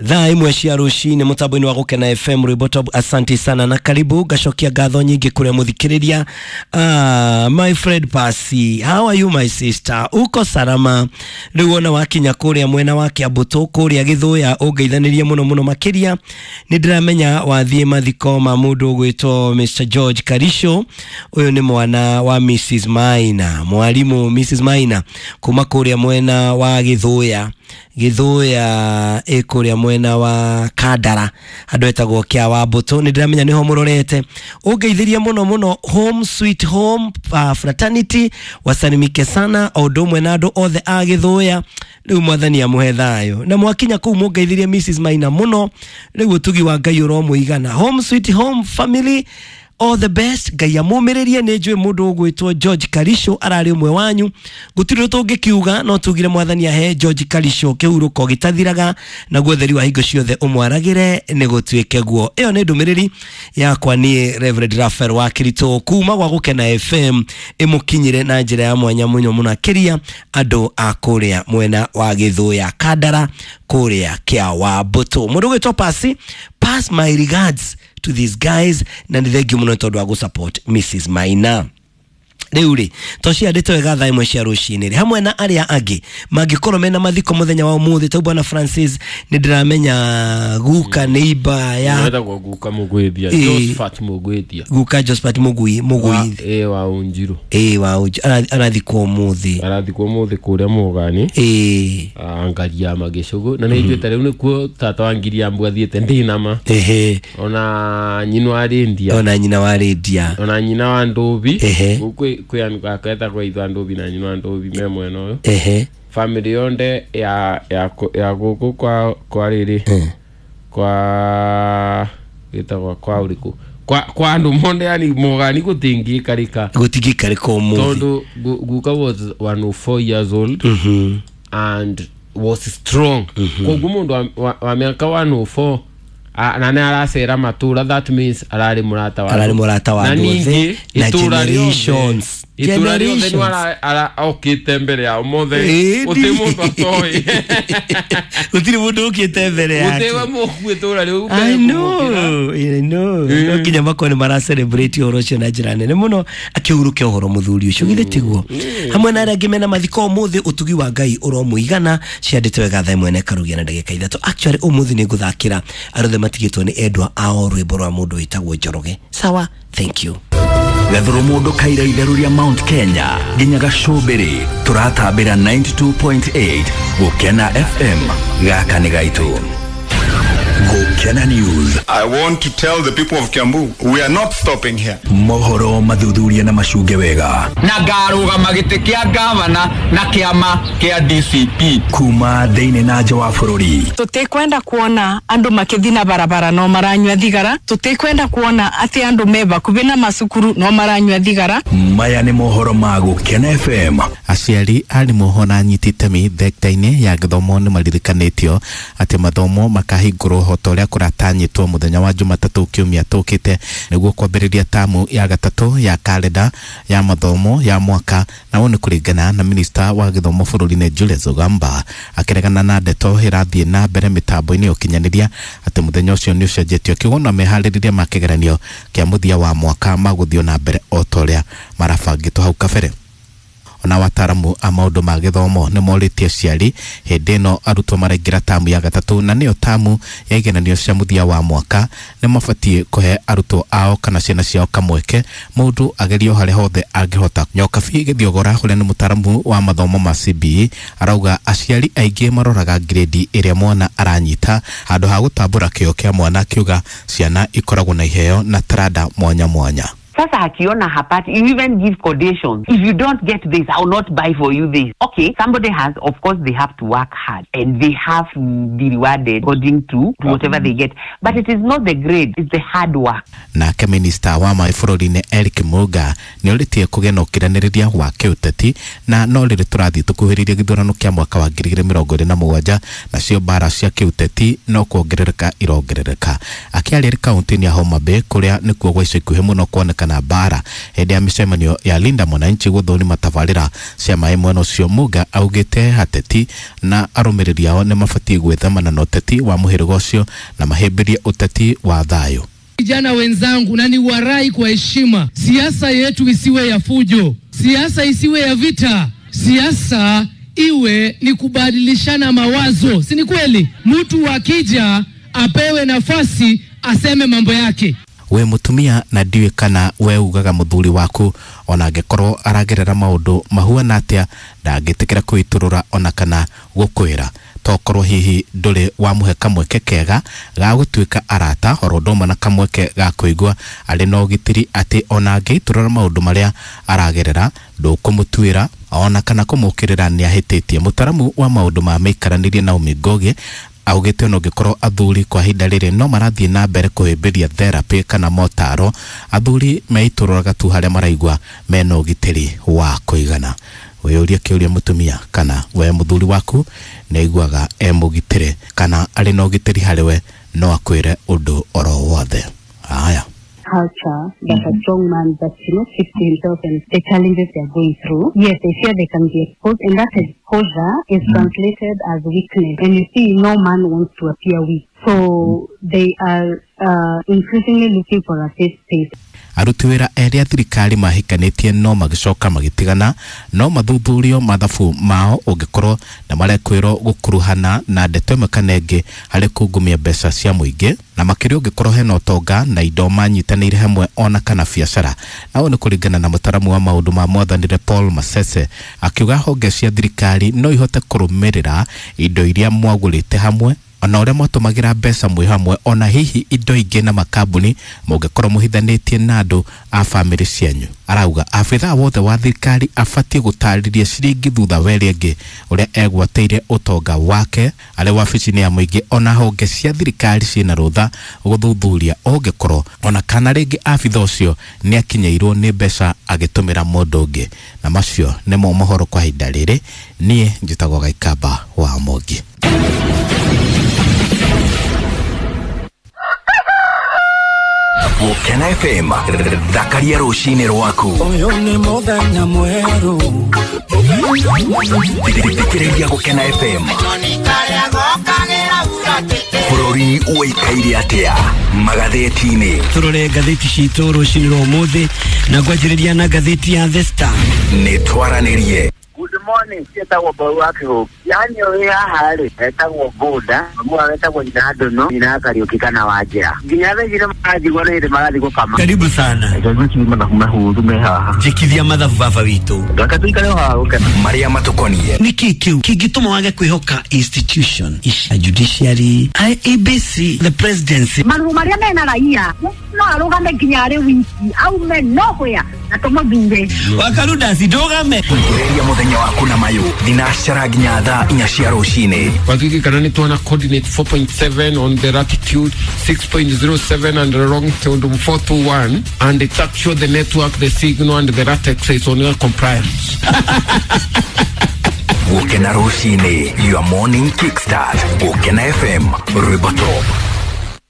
Thaa imwe cia rucini mutambo-inĩ wa Gũkena FM rwĩmbo top. Asante sana na karibu ngacokia ngatho nyingĩ kũrĩa mũthikĩrĩria. My friend Pasi, how are you my sister? Uko salama? Rĩu ona wakinya kũrĩa mwena wa Kĩambũtũ kũrĩa Gĩthũya ũngeithanĩrie mũno mũno makĩria. Nĩ ndĩramenya wathiĩ mathiko ma mũndũ ũgwĩtwo Mr George Karisho. Ũyũ nĩ mwana wa Mrs Maina, mwarimũ Mrs Maina kuma kũrĩa mwena wa Gĩthũya. Gĩthũya ĩ kũrĩa mwena wa Kandara handũ etagwo Kĩa wa Mbũtũ. Nĩ ndĩramenya nĩho mũrorete. Ũngeithĩrie mũno mũno home sweet home, fraternity wasalimike sana o ũndũ ũmwe na andũ othe a Gĩthũya. Rĩu mwathani amũhe thayũ. Na mwakinya kũu mũngeithĩrie Mrs Maina mũno. Rĩu ũtugi wa Ngai ũromũigana. Home sweet home family, all the best. Ngai amũmĩrĩrie. Nĩ njũĩ mũndũ ũgwĩtwo George Karisho ararĩ ũmwe wanyu. Gũtirĩ ũndũ tũngĩkiuga no tugire mwathani ahe George Karisho kĩhurũko gĩtathiraga, naguo ũtheri wa hingo ciothe ũmwaragĩre nĩ gũtuĩke guo. Ĩyo nĩ ndũmĩrĩri yakwa niĩ Reverend Raphael wa Kirito kuma gwa Gũkena FM, ĩmũkinyĩre na njĩra ya mwanya mũno mũno akĩria andũ a kũrĩa mwena wa Gĩthũya Kandara kũrĩa Kĩa wa Mbũtũ. Mũndũ ũgwĩtwo Pasi, pass my regards to these guys, na nĩ thengiũ mũno tondũ wa gũsupport Mrs Maina. Rĩu rĩ tociandĩte wega thaa imwe cia rũcinĩ rĩ hamwe na arĩa angĩ mangĩkorwo mena mathiko mũthenya wa ũmũthĩ. Tau bwana Francis nĩ ndĩramenya guka nĩ iba ya wetagwo guka Mũgwĩthia. Ĩĩ. Josephat Mũgwĩthia. Guka Josephat Mũgui Mũgui. Ĩ wa Unjiru. Ĩĩ wa Unjiru. Arathikwo ũmũthĩ. Arathikwo ũmũthĩ kũrĩa Mũgani. Ĩĩ. Ngaria Magĩcũgũ na nĩ njuĩte rĩu nĩkuo tata wa Ngiriambu athiĩte ndinama. Ehe. Ona nyina wa Rĩndia. Ona nyina wa Rĩndia. Ona nyina wa Ndũbi. Ehe. Gũkũ kwĩ andũ aketagwo ithe wa Ndũbi na nyina wa Ndũbi me mwena ũyũ. Ehe. Family yonthe ya gũkũ kwa rĩrĩ kwa gĩtagwo kwa ũrĩkũ kwa andũ monde yani Mũgani gũtingĩikarĩka. Gũtingĩikarĩka ũmũthĩ. Tondũ guka was 104 years old and was strong. Koguo mũndũ wa mĩaka 104 na nĩ aracera matũra, that means ararĩ mũrata wa Ararĩ andũ. mũrata wa Na andũ othe, ningĩ na itũra rĩothe generations. itũra rĩothe nĩ Generations. okĩte mbere yao mothe. Ĩĩ, Gũtirĩ mũndũ atoĩ. Gũtirĩ mũndũ ũkĩte mbere yake. Gũtirĩ we mũkue itũra rĩu I mbere kũmũkĩra. know, I know. No nginya makorwo nĩ mara celebrate ũhoro ũcio na njĩra nene mũno akĩhurũke ũhoro mũthuri ũcio githĩ tiguo. Hamwe na arĩa angĩ mena mathiko ũmũthĩ, ũtugi wa Ngai ũromũigana. Ciandĩte wega thaa ĩmwe na ĩkarugia na ndagĩka 3. Actually ũmũthĩ nĩ ngũthakĩra andũ othe matigĩtwo nĩ endwa ao rwĩmbo rwa mũndũ wĩtagwo Njoroge. Sawa, thank you. Gathuru mundu kaira itheru ria Mount Kenya nginya gacumbiri turatambira 92.8 Gukena FM. Gaka nĩ gaitũ. Gukena News. I want to tell the people of Kiambu, we are not stopping here. Mohoro mathuthuria na macunge wega. Na ngarũgama gĩtĩ kĩa gavana na kĩama kĩa DCP. Kuma thĩinĩ na nja wa bũrũri. Tutikwenda kuona andu makithi na barabara no maranyua thigara. Tutikwenda kuona ati andu me bakubi na macukuru no maranyua thigara. Maya nĩ mohoro ma Gukena FM. Aciari, arimũ ona anyiti itemi thekta-inĩ ya gĩthomo nĩ maririkanĩtio atĩ mathomo makahingũrwo o ta ũrĩa kũratanyĩtwo mũthenya wa Jumatatũ kiumia tũkĩte nĩguo kwambĩrĩria tamu ya gatatũ ya karenda ya mathomo ya mwaka. Na ũũ nĩ kũringana na minista wa gĩthomo bũrũri-inĩ Julius Ogamba akĩregana na ndeto ĩrathiĩ na mbere mĩtambo-inĩ ya ũkinyanĩria atĩ mũthenya ũcio nĩ ũcenjetio, akiuga ona meharĩrĩria ma kĩgeranio kĩa mũthia wa mwaka magũthiĩ na mbere o ta ũrĩa marabangĩtwo hau kabere. Ona wataaramu a maũndũ ma gĩthomo nĩ morĩtie aciari hĩndĩ ĩno arutwo maraingĩra tamu ya gatatũ na nĩyo tamu ya igeranio cia mũthia wa mwaka nĩ mabatiĩ kũhe arutwo ao kana ciana ciao kamweke mũndũ agerio harĩa hothe angĩhota. Nyokabi Gĩthiogora ũrĩa nĩ mũtaaramu wa mathomo ma CBE arauga aciari aingĩ maroraga grade ĩrĩa mwana aranyita handũ ha gũtambũra kĩo kĩa mwana, akiuga ciana ikoragwo na iheo na taranda mwanya mwanya. Sasa akiona hapati, you even give conditions. If you don't get this, I will not buy for you this. Okay, somebody has, of course, they have to work hard and they have to be rewarded according to whatever they get. But it is not the grade, it's the hard work. Nake minista wa maĩ bũrũri-inĩ Eric Muga nĩ orĩtie kũgĩa na ũkiranĩrĩria wa kĩũteti na no rĩrĩ tũrathiĩ tũkuhĩrĩirie gĩthurano kĩa mwaka wa 2027 nacio mbara cia kĩũteti no kuongerereka irongerereka. Akĩaria kaunti-inĩ ya Homa Bay kũrĩa nĩkuo gwa ica ikuhĩ mũno kuonekana kana mbara. Hĩndĩ ya mĩcemanio ya Linda Mwananchi gũthũrima tabarĩra cia maĩ mwena ũcio, Muga augĩte ateti na arũmĩrĩri ao nĩ mabatiĩ gwĩthemana na ũteti wa mũhĩrĩga ũcio na mahĩmbĩrie ũteti wa thayũ. Vijana wenzangu, na ni warai kwa heshima, siasa yetu isiwe ya fujo, siasa isiwe ya vita, siasa iwe ni kubadilishana mawazo, si ni kweli? Mtu akija apewe nafasi aseme mambo yake. We mutumia na ndiũĩ kana we ugaga mũthuri waku ona angĩkorwo aragerera maũndũ mahuana atĩa ndangĩtĩkĩra kwĩitũrũra ona kana gũkwĩra, tokorwo hihi ndũrĩ wamũhe kamweke kega ga gũtuĩka arata oro ũndũ ũmwe na kamweke ga kũigua arĩ na ũgitĩri atĩ ona angĩitũrũra maũndũ marĩa aragerera ndũkũmũtuĩra ona kana kũmũkĩrĩra nĩ ahĩtĩtie. Mũtaramu wa maũndũ ma mĩikaranĩrie Naomi Ngogi augĩte ona ũngĩkorwo athuri kwa ihinda rĩrĩ no marathiĩ na mbere kũhĩmbĩria therapy kana motaro, athuri meitũrũraga tu harĩa maraigua mena ũgitĩri wa kũigana. Wĩyũrie kĩũria mũtumia kana we mũthuri waku nĩ aiguaga e mũgitĩre kana arĩ na ũgitĩri harĩ we no akwĩre ũndũ oro wothe. Haya. Culture that a strong man that speaks to himself and the challenges they are going through. Yes, they fear they can be exposed, and that exposure is translated as weakness. And you see, no man wants to appear weak. So they are increasingly looking for a safe space. Aruti wĩra erĩ a thirikari mahikanĩtie no magĩcoka magĩtigana no mathuthurio mathabu mao ũngĩkorwo na marekwĩrwo gũkuruhana na ndeto ĩmwe kana ĩngĩ harĩ kungumia mbeca cia mũingĩ, na makĩria ũngĩkorwo hena ũtonga na indo manyitanĩire hamwe ona kana biacara. Na ũũ nĩ kũringana na mũtaramu wa maũndũ ma mwathanĩre Paul Masese, akiuga honge cia thirikari no ihote kũrũmĩrĩra indo iria mwagũrĩte hamwe ona ũrĩa mwatũmagĩra mbeca mwĩ hamwe ona hihi indo ingĩ na makambuni mũngĩkorwo mũhithanĩtie na andũ a bamĩrĩ cianyu. Arauga abithaa wothe wa thirikari abatiĩ gũtarĩria ciringi thutha wa ĩrĩa ĩngĩ ũrĩa egwatĩire ũtonga wake arĩ wabici-inĩ ya mũingĩ, ona honge cia thirikari ciĩna rũtha gũthuthuria ũngĩkorwo ona kana rĩngĩ abithaa ũcio nĩ akinyĩirwo nĩ mbeca agĩtũmĩra mũndũ ũngĩ. Na macio nĩmo mohoro kwa ihinda rĩrĩ. Niĩ njĩtagwo Gaikamba wa Mũngi. Gũkena FM, thakaria rũcinĩ rwaku. Ũyũ nĩ mũthenya mwerũ. Thikĩrĩria Gũkena FM. Bũrũri ũikaire atĩa magathĩti-inĩ? Tũrore ngathĩti citũ rũcinĩ rwa ũmũthĩ na ngwanjĩrĩria na ngathĩti ya The Star. Nĩ twaranĩrie. Good morning, ciĩtagwo Mbau wa Kĩhũngĩ. Yani ũrĩ haha rĩ, etagwo Boda, mwa etagwo nyina Ndono, nyina Kariũki kana Wanjĩra. Nginya thaa ici nĩmaranjigua nĩ hĩndĩ marathiĩ gũkama. Karibu sana. Mathabu mahũthũ me haha. Njĩkithia mathabu baba witũ. Reke tũikare o haha gũkena. Marĩa matũkoniĩ. Nĩkĩ kĩu kĩngĩtũma wage kwĩhoka institution ici, judiciary, IEBC, the presidency? Marũa marĩa mena raia no arũgame nginya arĩ wiki aume nowhere na tũmũthure. Wakarudasi ndũgame. Thikĩrĩria mũthenya waku na mayũ thinacara nginya thaa 4 cia rũcinĩ. Wakiki kana nĩ tuona coordinate 4.7 on the latitude, 6.07 and the longitude 421, and it's actually the network, the signal and the latex is on your compliance. Gũkena rũcinĩ, your morning kickstart. Gũkena FM, rwĩmbo top.